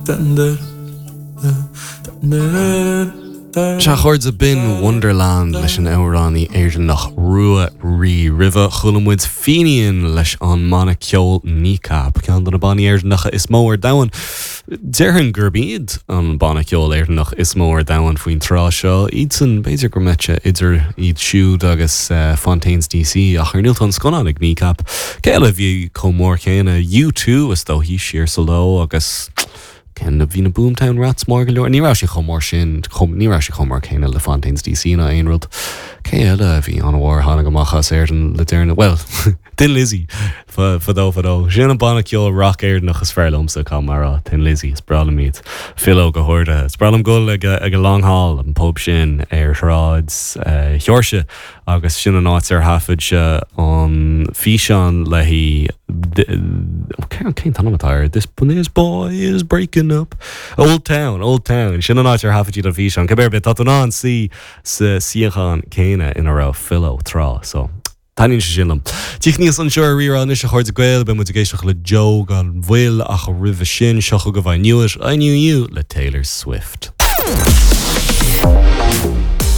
Sea, a chairde, b'in Wonderland leis an amhránaí Éireannach Rua Rí. Roimhe, chuala muid Fenian leis an mbanna ceoil Kneecap, ceann de na bannaí Éireannacha is mó ar domhan. Déarfainn gurb iad an banna ceoil Éireannach is mó ar domhan faoin tráth seo. Iadsan, b'fhéidir go mbeadh sé idir iad siúd agus Fontaines DC, ach ar ndóigh tá an scannán ag Kneecap. Cé eile a bhí chomh mór céanna? U2 is dóichí, siar sa ló agus. Cén, bhí na Boomtown Rats mór go leor, ní raibh siad chomh mór sin, chomh, ní raibh siad chomh mór céanna le Fontaines DC ná aon rud. Cé eile a bhí an-mhór a tháinig amach as Éirinn le deireanas? Bhuel, Thin Lizzy, fadó fadó. Sin an banna ceoil rac Éireannach is fearr liomsa, caithfidh mé a rá, Thin Lizzy, is breá liom iad. Philo go háirithe. Is breá liom dul ag, ag an Long Hall, an pub sin ar Shráid Sheoirse. Agus sin an áit ar thaifead sé an físeán léi, cén t-ainm atá air? This this boy is breaking up. Old Town, Old Town. Sin an áit ar thaifead siad an físeán. Cibé ar bith, tá tú in ann suí sa suíochán céanna ina raibh Philo tráth, so taitníonn sé sin liom. Tíocht aníos anseo ar Rí-Rá anois a chairde Gael, beidh muid ag éisteacht le Joe gan mhoill ach roimhe sin, seo chugaibh I Knew It, I Knew You le Taylor Swift.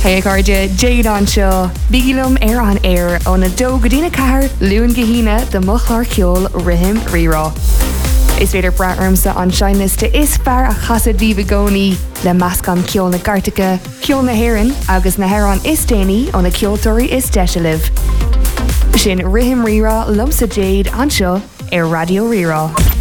Hey a chairde, Jade anseo. Bígí liom ar an aer óna 2 go dtína 4, Luan go hAoine do mo chlár ceoil Rithim Rí-Rá. Is féidir brath ormsa an seinnliosta is fearr a chasadh daoibh i gcónaí, le meascán ceol na gcairteacha, ceol na hÉireann agus na hamhráin is déanaí ó na ceoltóirí is deise libh. Sin Rithim Rí-Rá liomsa Jade anseo ar Raidió Rí-Rá.